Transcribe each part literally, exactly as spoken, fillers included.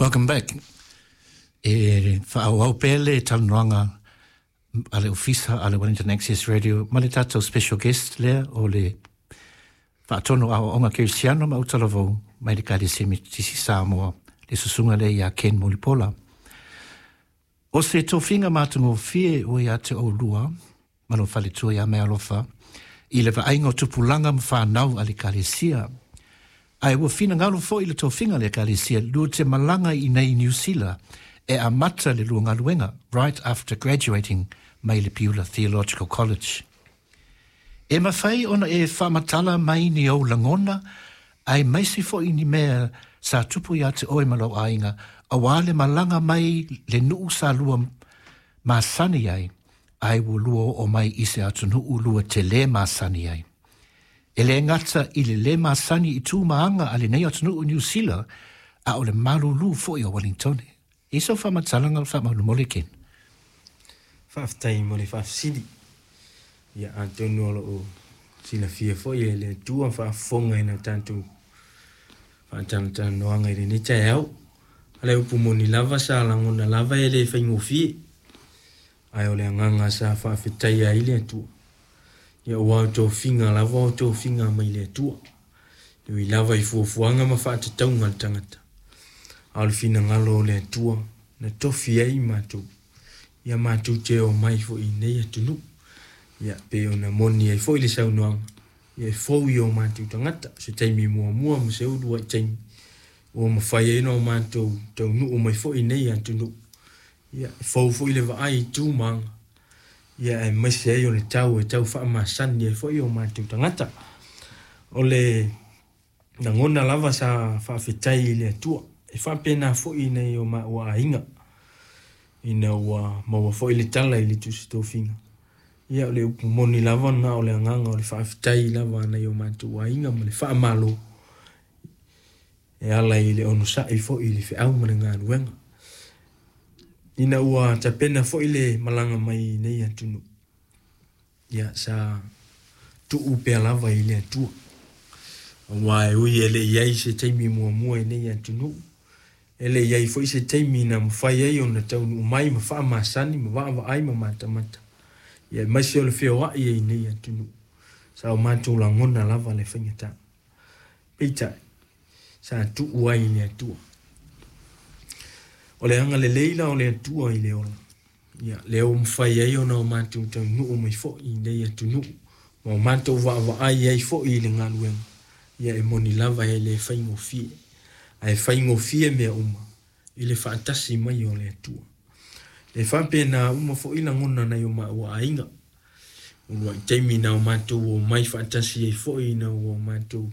Welcome back. E faaauau pea le talanoaga a le Ofisa a le Wellington Access Radio ma le tatou special guest lea o le faatonu aoaoga kerisiano ma autalavou mai le Ekalesia Metotisi Samoa, le susuga lea ia Ken Mulipola. O se tofiga matagofie ua ia te oulua ma lou faletua ia Mealofa i le vaaiga o tupulaga ma fanau a le Ekalesia. Ae ua finagalo foi le tofiga le Ekalesia lua te malaga i nei Niu Sila e amata le lua galuega right after graduating mai le Piula Theological College. E mafai ona e faamatala mai ni ou lagona, aemaise foi ni mea sa tupu ia te oe ma lou aiga, auā le malaga mai le nuu sa lua masani ai, ae ua lua oo mai i se atunuu lua te lē masani ai. E lē gata i le lē masani i tu ma aga a lenei atunuu Niu Sila, a o le malūlū foi o Wellingtone. I sau faamatalaga faamolemole, Ken. Faafetai mo le faafesili. Ia, atonu o loo silafia foi e le Atua faafofoga i na tatou faatalatalanoaga i lenei taeao. A le upu moni lava, sa lagona lava e le faigofie. Ae o le agaga sa faafetaia ai le Atua. Ia ua o tofiga lava o tofiga mai le Atua. E ui lava i fuafuaga ma faatatauga a le tagata. A o le finagalo o le Atua na tofi ai matou. Ia matou te omai foi i nei atunuu. Ia pe ona moni ai foi le saunoaga. Ia e fou i o matou tagata. Se taimi muamua ma se uluai taimi ua mafai ai ona o matou taunuu mai foi i nei atunuu. Ia e fou foi le vaai i tu ma aga. Ia aemaise ai o le tau e tau faamasani ai foi o matou tagata. O le lagona lava sa faafetai i le Atua. E faapena foi nai o maua aiga ina ua maua foi le tala i le tusi tofiga. Ia o le upu moni lava na o le agaga o le faafetai lava nai o matou aiga ma le faamalo e ala i le onosai foi i le feau ma le galuega. Ina ua tapena foi le malaga mai i nei atunuu. Ia sa tuu pea lava i le Atua. Aua e ui e le i ai se taimi muamua i nei atunuu. E le i ai foi se taimi na mafai ai ona taunuu mai ma faamasani ma vaavaai ma matamata. Ia aemaise o le feoai ai i nei atunuu. Sa o matou lagona lava le faigata. Peitai, sa tuu ai i le Atua. O le agalelei la o le Atua i le ola. Ia, lea ua mafai ai ona o matou taunuu mai foi i nei atunuu. Ma o matou vaavaai ai foi i le galuega. Ia e moni lava e le faigofie. Ae faigofie mea uma i le faatasi mai o le Atua. E faapena uma foi lagona nai o maua aiga. Uluai taimi na o matou omai faatasi ai foi ina ua o matou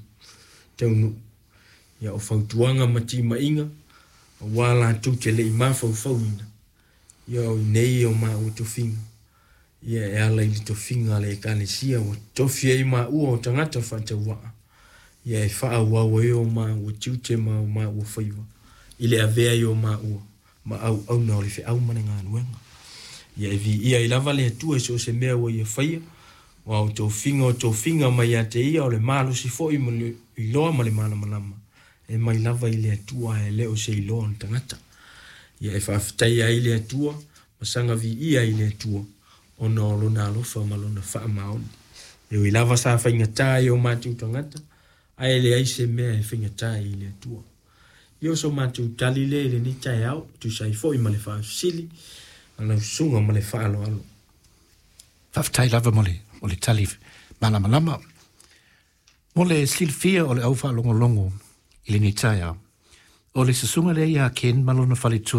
taunuu. Ia o fautuaga ma timaiga, aua latou te le i mafaufauina. Ia o i nei o maua tofiga. Ia e ala i le tofiga a le Ekalesia ua tofi ai maua o tagata faatauvaa. Ia e faaauau ai o maua tiute ma o maua faiva i le avea ai o maua ma auauna o le feau ma le galuega. Ia e viia ai lava le Atua i so o se mea ua ia faia, aua o tofiga o tofiga mai ia te ia o le malosi foi ma le iloa ma le malamalama e mai lava i le Atua ae le o se iloa o le tagata. Ia e faafetaia ai le Atua ma saga viia ai le Atua ona o lona alofa ma lona faamaoni. E ui lava sa faigata i o matou tagata, ae leai se mea e faigata ai i le Atua. Ia o so matou tali lea i lenei taeao, tusa ai foi ma le faafesili a lau susuga ma le faaaloalo. Faafetai lava mo le, mo le tali malamalama. Mo le silafia o le au faalogologo i lenei taeao, o le susuga lea ia Ken ma lona faletua.